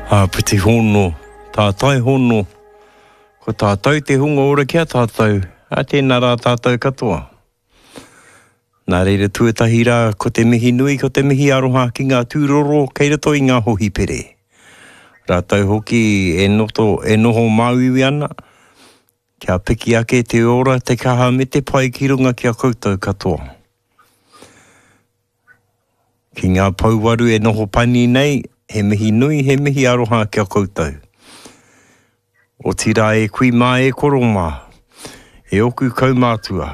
Āpiti hono, tātai hono, ko tātou te hunga ora ki a tātou, ā tēnā rā tātou katoa. Nā reira tuatahi rā, ko te mihi nui, ko te mihi aroha ki ngā tūroro kei roto i ngā hohipere. Rātou hoki e noto, e noho māuiui ana, kia piki ake te ora, te kaha me te pai ki runga ki a koutou katoa. Ki ngā pouwaru e noho pani nei, he mihi nui, he mihi aroha ki a koutou. Otirā e kui mā, e koro mā, e oku kaumātua,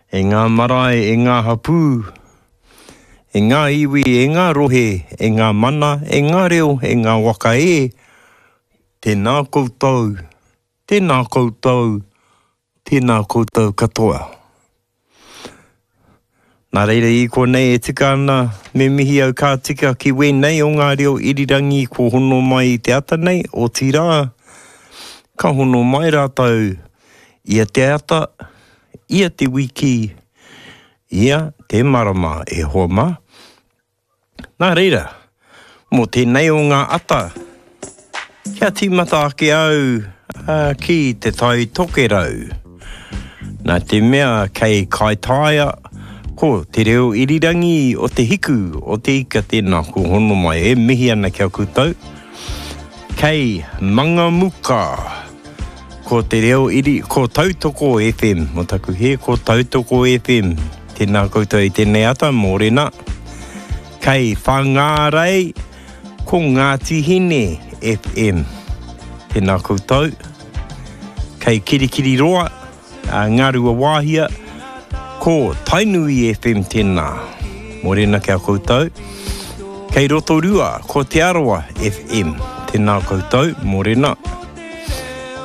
e ngā marae, e ngā hapū, e ngā iwi, e ngā rohe, e ngā mana, e ngā reo, e ngā waka e, tēnā koutou, tēnā koutou, tēnā koutou katoa. Nā reira i konei e tika ana me mihi au ka tika ki wēnei o ngā reo irirangi kua hono mai i te ata nei, otirā, ka hono mai rātou ia te ata, ia te wiki, ia te marama e hoa mā. Nā reira, mō tēnei o ngā ata, kia tīmata ake au ki Te Tai Tokerau. Nā te mea kei Kaitaia, ko te reo irirangi o te hiku o te ika tēnā ko hono mai e mihi ana ki a koutou. Kei Mangamuka, ko te reo iri, ko Tautoko FM, mō taku hē, ko Tautoko FM. Tēnā koutou i tēnei ata, mōrena. Kei Whangārei, ko Ngāti Hine FM. Tēnā koutou. Kei Kirikiriroa, Ngāruawāhia, ko Tainui FM tēnā. Mōrena ki a koutou. Kei Rotorua, ko Te Arawa FM. Tēnā koutou, mōrena.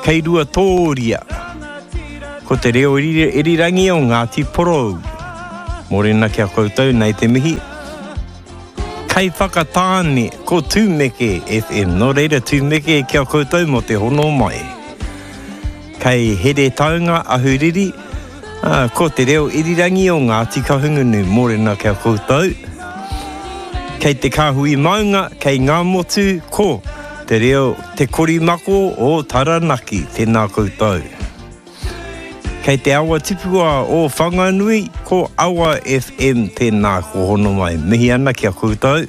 Kei Ruatōria, ko te reo irirangi o Ngāti Porou. Mōrena ki a koutou, nei te mihi. Kei Whakatāne, ko Tūmeke FM. Nō reira, Tūmeke ki a koutou mō te hono mai. Kei Heretaunga, Ahuriri, ā, ko te reo irirangi o Ngāti Kahungunu. Mōrena ki a koutou. Kei te Kāhui Maunga, kei Ngāmotu, ko te reo Te Korimako o Taranaki. Tēnā koutou. Kei te awa tipua o Whanganui, ko Awa FM tēnā ko hono mai. Mihi ana ki a koutou.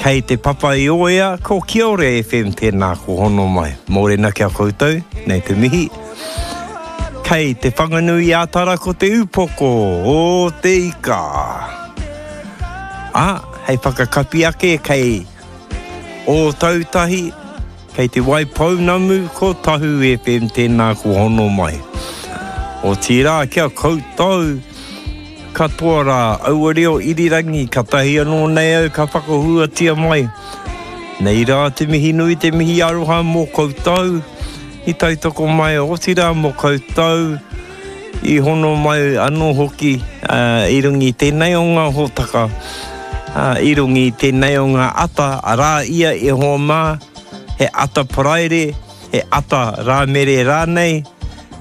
Kei Te Papa-i-ōea, ko Kiore FM tēnā ko hono mai. Mōrena ki a koutou, nei te mihi. Kei Te Whanganui-ā-Tara ko Te Upoko o te Ika. Ā, hei whakakapi ake kei Ōtautahi, kei Te Waipounamu ko Tahu FM tēnā ko hono mai. Otirā ki a koutou Katoa rā, aua reo irirangi, katahi anō nei au ka whakahuatia mai. Nei rā te mihi nui, te mihi aroha mō koutou i tautoko mai, otirā mō koutou i hono mai anō hoki i runga i tēnei o ngā hōtaka, i runga i tēnei o ngā ata, arā ia e hoa mā, he ata Paraire, he ata Rāmere rānei,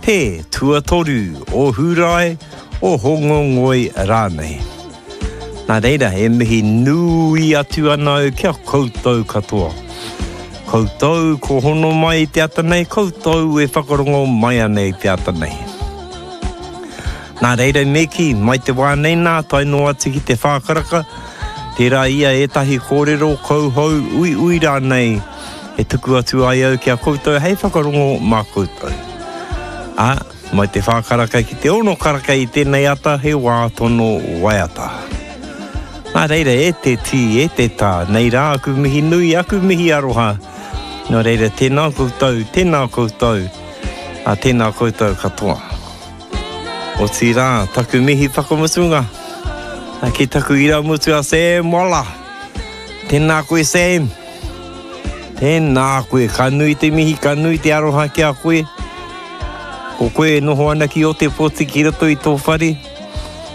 te tuatoru o Hūrae, o Hōngongoi rānei. Nā reira, e mihi nui atu ana au ki a koutou katoa. Koutou ko hono mai i te ata nei, koutou e whakarongo mai ana i te ata nei. Nā reira me kī, mai te wā nei nā, tae noa atu ki te whā karaka, tērā ia ētahi kōrero kauhou uiui rānei e tuku atu ai au ki a koutou hei whakarongo mā koutou. Ā, mai te whā karaka ki te ono karaka i tēnei ata he wā tono waiata. Nā reira, e te tī, e te tā, nei rā aku mihi nui, aku mihi aroha. Nō reira, tēnā koutou, tēnā koutou, ā, tēnā koutou katoa. Otirā, taku mihi whakamutunga ki taku irāmutu a Sam Waller. Tēnā koe Sam. Tēnā koe, ka nui te mihi, ka nui te aroha ki a koe. Ko koe e noho ana ki Otepoti ki roto i tō whare.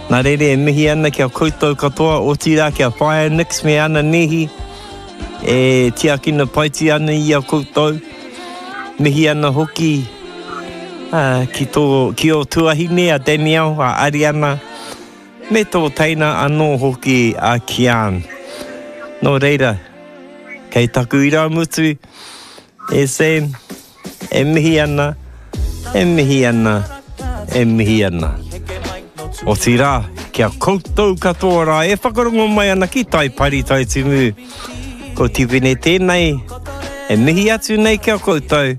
Nā reira e mihi ana ki a koutou katoa, otirā ki a Whaea Nix me ana nēhi e tiakina paitia ana i a koutou. Mihi ana hoki ki tō, ki ō tuahine a Danielle, a Ariana, me tō teina anō hoki a Kian. Nō reira. Kei taku irāmutu, e Sam, e mihi ana, e mihi ana, e mihi ana. Otirā, ki a koutou katoa rā e whakarongo mai ana ki Tai Pari Tai Timu, ko Tipene tēnei, e mihi atu nei ki a koutou.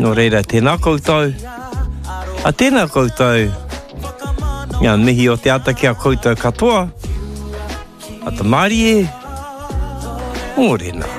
Nō reira, tēnā koutou, a tēnā koutou, ngā mihi o te ata ki a koutou katoa, Ata mārie, mōrena.